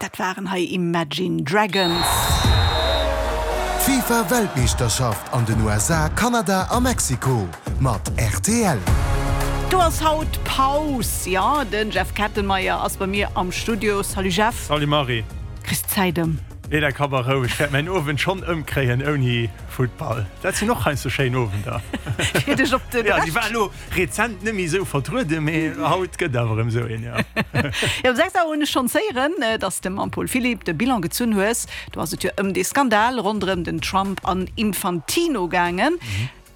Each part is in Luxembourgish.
Dat waren hei Imagine Dragons. D'FIFA Weltmeeschterschaft an den USA, Kanada a Mexiko mat rtl. Do ass haut Paus, jo, den Jeff Kettenmeyer ass bei mir am Studio. Salut Jeff. Salut Marie. Kriss d'Zäit ëm? Nee, dat ka mer roueg. Ech wäert mäin Owend schonn ëmkréien ouni Futtball. Dat sinn och heiansdo schéin Owender. Fir dech op de Ja, déi war elo rezent net méi esou vertrueden, mee haut gëtt awer erëm esou een, jo. Jo, um 6 Auer hunn ech schonns héieren, dass de mam Paul Philipp de Bilan gezunn hues. Do ass et jo ëm dee Skandal ronderëm den Trump an Infantino gaangen.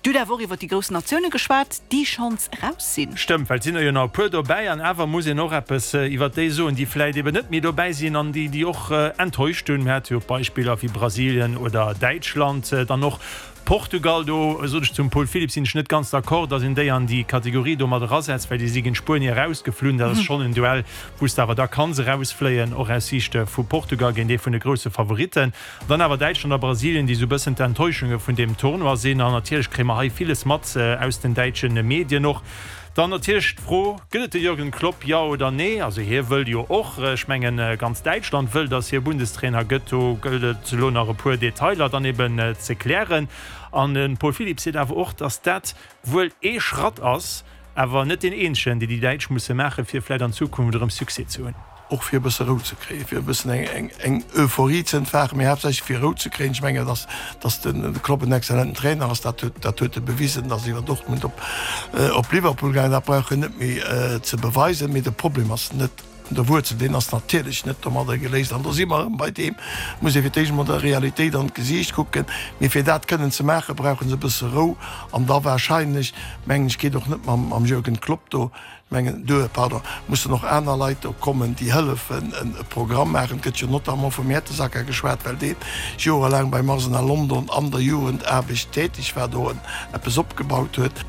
Du hutt awer och iwwer déi grouss Natioune geschwat, déi schonns eraus sinn. Stëmmt, well et sinn der jo nach e puer dobäi. An awer muss een och eppes iwwer déi soen, déi vläicht eben net méi dobäi sinn an déi, déi och enttäuscht hunn. Mir hate jo Beispiller wéi Brasilien oder Däitschland, dann och Portugal. Do sot ech zum Paul Philipp, sinn ech net ganz d'accord, datt een déi an déi Kategorie do mat erasetzt, well déi si géint Spuenie erausgeflunn. Dat ass schonn en Duell, wou s de awer da kanns erausfléien, och aus Siicht vu Portugal géint ee vun de grousse Favoritten. Dann awer Däitschland a Brasilien, déi esou bëssen d'Enttäuschunge vun deem Tournoi sinn. An natierlech kréie mer hei villes mat aus den däitsche Medien och. Dann natierlech d'Fro, Gëtt et de Jürgen Klopp, jo oder nee? Also hie wëll jo och, ech mengen ganz Däitschland wëll, datt hie Bundestrainer gëtt. Do gëllt et elo nach e puer Detailer dann eben ze klären. An de Paul Philipp seet awer och, datt dat wuel ee Schratt ass, awer net deen eenzegen, dee déi Däitsch musse maachen, fir vläicht an Zukunft erëm Succès ze hunn. Och fir e bësse Rou ze kréien, fir e bëssen eng Euphorie ze entfachen, mee haaptsächlech fir Rou ze kréien. Ech mengen, dass, dass de Klopp en exzellenten Trainer ass, dat huet, dat huet e bewisen, dass iwwer Dortmund op, op Liverpool gaangen, dat brauch en net méi ze beweisen. Mee de Problem ass net un der Wuerzel, deen ass natierlech net domadder geléist. An do si mer erëm bei deem, et muss ee fir d'éischt emol der Realitéit an d'Gesiicht kucken. Mee fir dat kënnen ze maachen, brauche se e bësse Rou. An da wahrscheinlech, mengen ech, geet och net mam, mam Jürgen Klopp do, mengen duer, pardon, mussen och aner Leit do kommen, déi hëllefen e Programm maachen. Et gëtt jo notamment vum Mertesacker geschwat, well dee jorelaang beim Arsenal London an der Jugendaarbecht täteg war, do eppes opgebaut huet.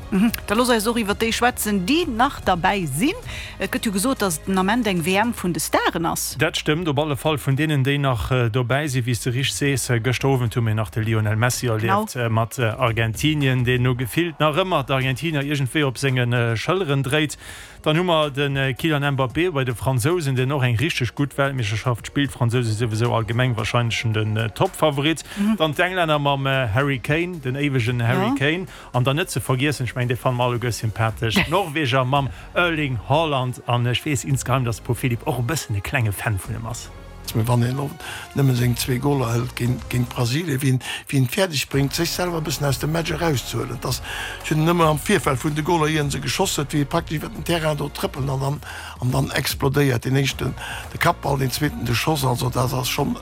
Da looss eis och iwwer déi schwätzen, déi nach derbäi sinn. Et gëtt jo gesot, datt et den Ament eng WM vun de Staren ass. Dat stëmmt, op alle Fall vun deenen, déi nach dobäi sinn. Wéi s de richteg sees, gëschter Owend hu mir nach de Lionel Messi erlieft mat Argentinien, deen no gefillt nach ëmmer d'Argentinier iergendwéi op senge Schëlleren dréit. Dann hu mer de Kylian Mbappé bei de Fransousen, deen och eng richteg gutt Weltmeeschterschaft spillt. D'Fransouse souwisou allgemeng warscheinlech den Toppfavorit. Dann d'Englänner mam Harry Kane, den éiwegen Harry Kane. An dann net ze vergiessen, ech mengen, dee fanne mer alleguer sympathesch, d'Norweger mam Erling Haaland. An ech weess insgeheim, dass de Paul Philipp och e bëssen e klenge Fan vun em ass. Mee wann een och nëmme seng zwee Goler hëlt géint Brasilien, wéi en et fäerdeg bréngt, sech selwer e bëssen aus dem Match erauszehuelen, et ass, ech hunn en ëmmer am Virfeld vun de Goler, ier en se geschoss huet, wéi e praktesch iwwer den Terrain do trëppelt an dann, an dann explodéiert. Deen éischten de Kappball, deen zweeten de Schoss. Also dat ass schonn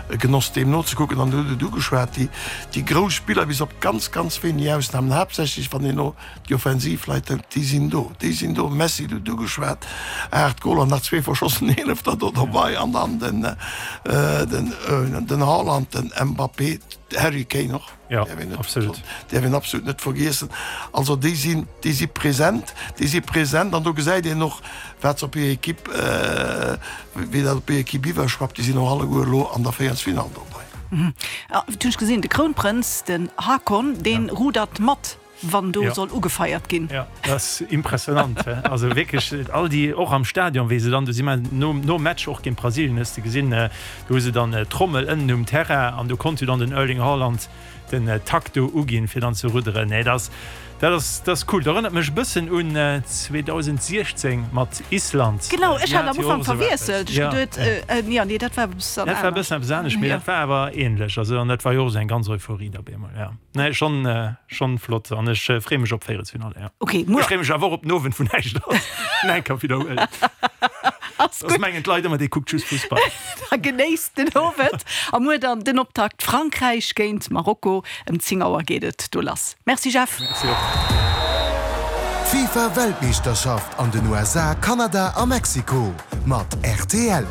e Genoss deem nozekucken. An du hutt et ugeschwat, déi, déi grouss Spiller, bis op ganz, ganz wéineg Ausnamen, haaptsächlech wann een elo Déi offensiv Leit, déi sinn do, déi sinn do. Messi, du hutt ugeschwat, 8 Goler, nach zwee verschossen, eelefter do dobei an dann den, den, den Haaland, den Mbappé, de Harry Kane och, däerf een net, däerf een absolut net vergiessen. Also déi sinn, déi si present, déi si present an do gesäit een och, wat se op hir Equipe, wéi dat op hir Equipe iwwerschwappt. Déi sinn och alleguer elo an der Véierelsfinall dobei. Et hunn ech gesinn, de Krounprënz, den Haakon, dee rudert mat. Wann do soll ugefeiert ginn. Jo, dat ass impressionant. Also wierklech all déi, och am Stadion, wéi se dann, do si mer nom Match och géint Brasilien, hues de gesinn, do hu se dann d'Trommel ënnen um Terrain an do konnt jo dann den Erling Haaland den Takt do uginn, fir dann ze rudderen. Nee, dat ass, dat ass, dat ass cool. Dat erënnert mech e bëssen un 2016 mat Island. Genau, ech hat am Ufank verwiesselt. Ech geduet, jo, nee, dat war e bëssen anescht. Dat war e bëssen eppes anescht, mee dat war awer änlech. Also an dat war jo och esou eng ganz Euphorie da op eemol, jo. Nee, schon, schon flott an ech freeë mech op Véierelsfinale, ja. Okay, muer. Ech freeë mech awer och op den Owend, wou näischt ass. Nach eng Kéier widderhuelen. Ass Soss gutt. mengen d'Leit ëmmer, dee kuckt just Fussball. Da genéisst den Owend. A muer dann den Optakt Frankräich géint Marokko. Ëm 10 Auer geet et do lass. Merci Jeff. Merci och. D'FIFA Weltmeeschterschaft an den USA, Kanada a Mexiko mat rtl.